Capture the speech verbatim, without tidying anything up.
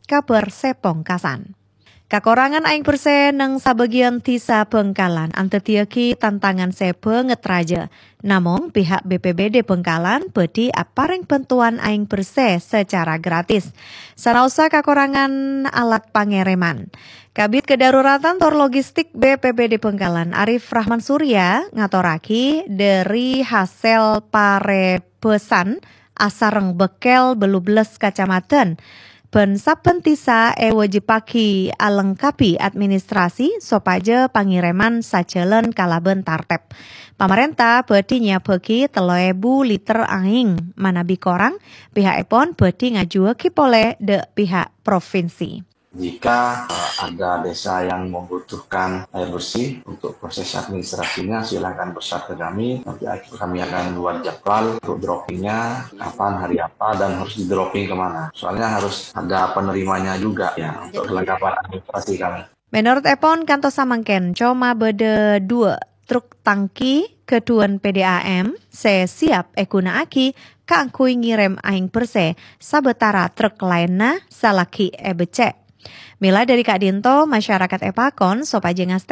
Kabhâr sè pongkasan. Kakorangan aèng bersè neng sabâgiyân dhisa Bhângkalan andhâddhiyâghi tantangan sè bângèt rajâ. Namong, pihak B P B D Bhângkalan bhâdhi aparèng bhântowan aèng bersè sacara gratis. Sanaossa kakorangan alat pangèrèman. Kabid Kedaruratan tor Logistik B P B D Bhângkalan, Arif Rahman Surya, ngatorraghi dhâri hasèl parèbâsan asareng bâkkèl bâllu bellâs kacamadhân, bân sabbhân dhisa èwâjibhâghi alengkabhi administrasi sopajâ pangèrèman sajhâlân kalabân tartèb. Pamarènta bhâdhi nyèyabhâghi tello èbu liter aèng, manabi korang, pihakèpon bhâdhi ngajuwâghi polè dhâ' pihak provinsi. Jika, eh, ada desa yang membutuhkan air bersih untuk proses administrasinya, silakan WhatsApp ke kami. Nanti kami akan buat jadwal untuk droppingnya, kapan, hari apa, dan harus di-dropping kemana. Soalnya harus ada penerimanya juga ya untuk kelengkapan administrasi kami. Menurut èpon, kantos samangkèn coma bâdâ dua truk tangki ghâdhuwân P D A M sè siap èghuna'aghi kaangghuy ngèrèm aèng bersè sabâtara truk laènna salaghi èbecce'. Mèla dhâri ka'dinto, masyarakat èpakon sopajâ ngastè